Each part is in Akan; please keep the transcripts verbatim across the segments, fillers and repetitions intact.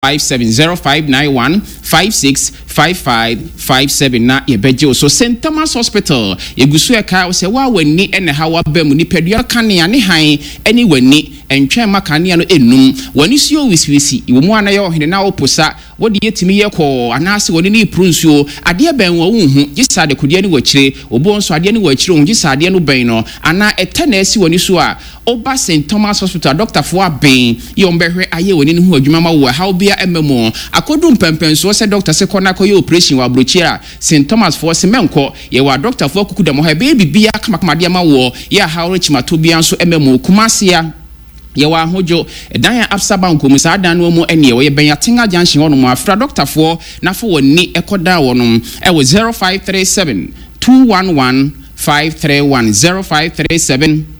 Five seven zero five nine one five six five five five seven na yɛbɛgye wo so. Saint Thomas Hospital yɛgu so ɛka sɛ woa w'ani ɛna ha waba mu. Nipadua kanea ne han ɛne w'ani ɛntwɛn ma kanea no ɛnum. W'ani so yɛ wisiwisi wɔ mu ana yɛ ɔhene na woposa wode yɛtumi yɛ kɔɔ anaasɛ wɔne ne puru nsuo adeɛ bɛn wɔ wonhu gye sɛ adekodeɛ ne wɔ obo nso adeɛ ne wɔ akyire ho gye sɛ adeɛ no bɛn no anaa ɛtɛ na asi w'ani so a, woba Saint Thomas Hospital, dɔktafoɔ abɛn yɛ wɔn bɛhwɛ ayɛ w'ani no ho adwuma ma wo. Ɛhaw bia ɛmɛ mu akɔdu mpɛmpɛnsoɔ sɛ dɔkta sɛ kɔ na akɔyɛ operation wɔ aburokyire a, Saint Thomas foɔ sɛ mɛnkɔ. Yɛwɔ adɔktafoɔ akuku dɛm hɔ, ɛbɛyɛ biribiara kamakama deɛ ma wɔ yɛ ahaw rekyimato bia nso ɛmɛ mu. Kumasia yɛwɔ Ahodwo ɛdan a Absa Bank mu, saa dan no mu ɛneɛ wɔyɛ bɛn Atenga Junction hɔnom. Afra dɔktafoɔ n'afɔ wɔn ni ɛkɔ dan wɔnom ɛwɔ zero five three seven two one one five three one, zero five three seven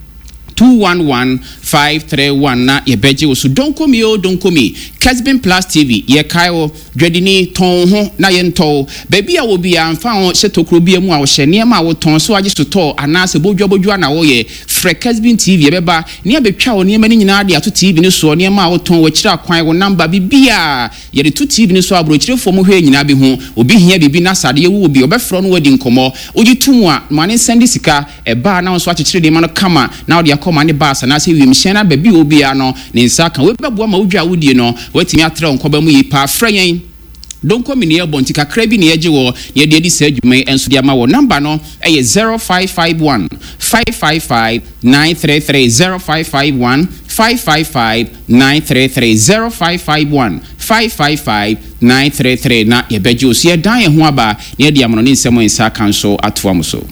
two one one five three one na yɛbɛgye wo so. Donkomi o donkomi, Kesbin Plus T V yɛkae wo. Dwadini, tɔn ho na yɛntɔw baabi a wɔ biara mfa ho hyɛ tokuro bia mu a wɔhyɛ nneɛma a wotɔn so agye so tɔɔ anaasɛ bodwabodwa na wɔyɛ. Frɛ Kesbin T V, yɛbɛba ne abɛtwa wo nneɛma no nyinaa de ato T V no soɔ. Nneɛma a wotɔn, wɔakyerɛ akwan, wo namba, biribiaa yɛde to T V no so. Aborɔkyirefoɔ mu hwɛ nyinaa bi ho obi hia biribi na sadeɛ wowɔ bi, ɔbɛfrɛ no wadi nkɔmmɔ. Wogye to mu a, ma ne nsɛn de sika ɛbaa na wo nso akyekyere nneɛma no kama na wode akɔ ma ne baasa anaasɛ wiemhyɛn no baabi wɔ biara no ne nsa ka. Wei bɛboa ma wodwa a wodie no woatumi atrɛ wo nkɔba mu yi paa. Frɛ yɛn, donkomi ne yɛbɔ nti kakra bi ne yɛgye wɔ ne yɛde adi saa adwuma yi nso de ama wɔ. Namba no ɛyɛ zero five five one five five five nine three three, zero five five one five five five nine three three, zero five five one five five five nine three three na yɛbɛgye wo so. Yɛdan yɛn ho aba na yɛde amono ne nsɛm nsa ka nso atoa mo so.